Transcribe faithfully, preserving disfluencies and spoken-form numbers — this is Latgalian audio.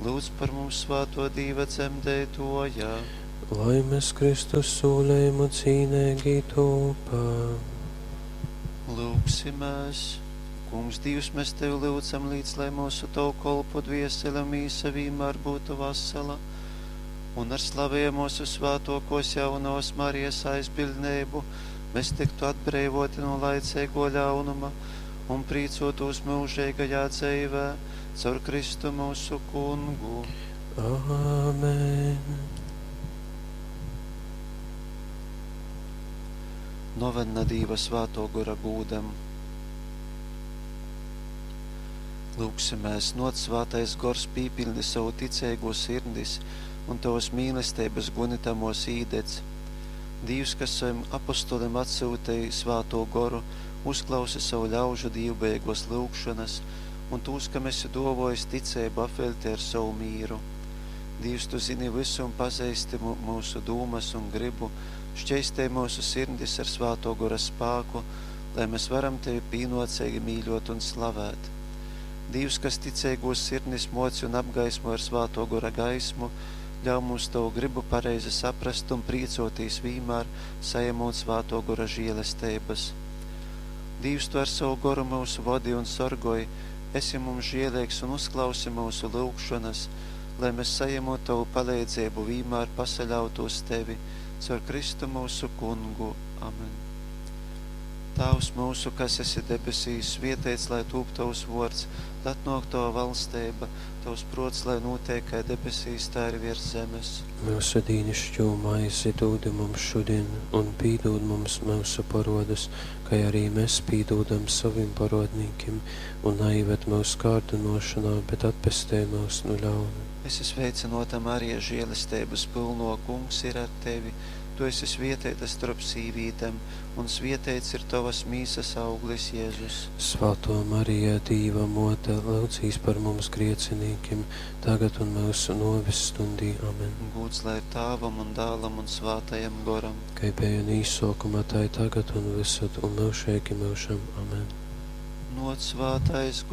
Lūdz par mums svāto Dīva dzemdeitoja. Lai mēs Kristus sūlējumu cīnīgi tūpam. Lūgsimies! Kungs, Dievs, mēs Tevi lūdzam līdz, lai mūsu Tavu kolpu dviesele un mīsa vienmēr būtu vasala, un ar slavēju mūsu svētokos jaunos Marijas aizbildnību mēs tiktu atbrīvoti no laicīgo ļaunuma un prīcotos mūžīgajā dzīvē caur Kristu mūsu kungu. Āmen. Novena Dīva svēto gora gūdam. Lūgsimies, noc svētais gors pīpildi savu ticīgo sirdis un tavas mīlestības gunitamos īdedz. Dievs, kas saviem apostoliem atsūtīja svēto goru, uzklausi savu ļaužu dīvbeigos lūgšanas un tūs, kam esi dovojis ticību apvelti ar savu mīru. Dievs, tu zini visu un pazīsti mūsu dūmas un gribu, šķeistē mūsu sirdis ar svēto gora spāku, lai mēs varam tevi pīnocīgi mīļot un slavēt. Dievs, kas ticīgos sirdis moci un apgaismo ar svēto gora gaismu, ļauj mums tavu gribu pareizi saprast un prīcoties vienmēr, saņemot svēto gora žēlestības. Dievs, tu ar savu goru mūsu vodi un sorgoj, esi mums žēlīgs un uzklausi mūsu lūgšanas, lai mēs saņemot tavu palīdzību vienmēr pasaļautos tevi, caur Kristu mūsu kungu. Amen. Tēvs mūsu, kas esi debesīs, svietēts, lai tūp tavs vārds, lai atnāk tava valstība, tavs prots, lai notiek kā debesīs, tā arī virs zemes. Mūsu dīnišķo maizi dod mums šodien, un pīdod mums mūsu parodas, kā arī mēs pīdodam saviem parodnīkiem, un neieved mūsu kārdinošanā, bet atpestē mūs no ļauna. Esi sveicināta, Marija, žēlestības pilno, kungs ir ar tevi. Tu esi svietēta starp sīvītēm, un svietēts ir tavas mīsas auglis, Jēzus. Svētā Marija, Dīva mote, lūdzīs par mums griecinīkiem, tagad un mūsu novis stundī. Amen. Gūds lai ir Tāvam un Dālam un Svētajam Goram. Kā bija un īsākumā, tā ir tagad un visur un mūžīgi mūžam. Amen. Noc svētais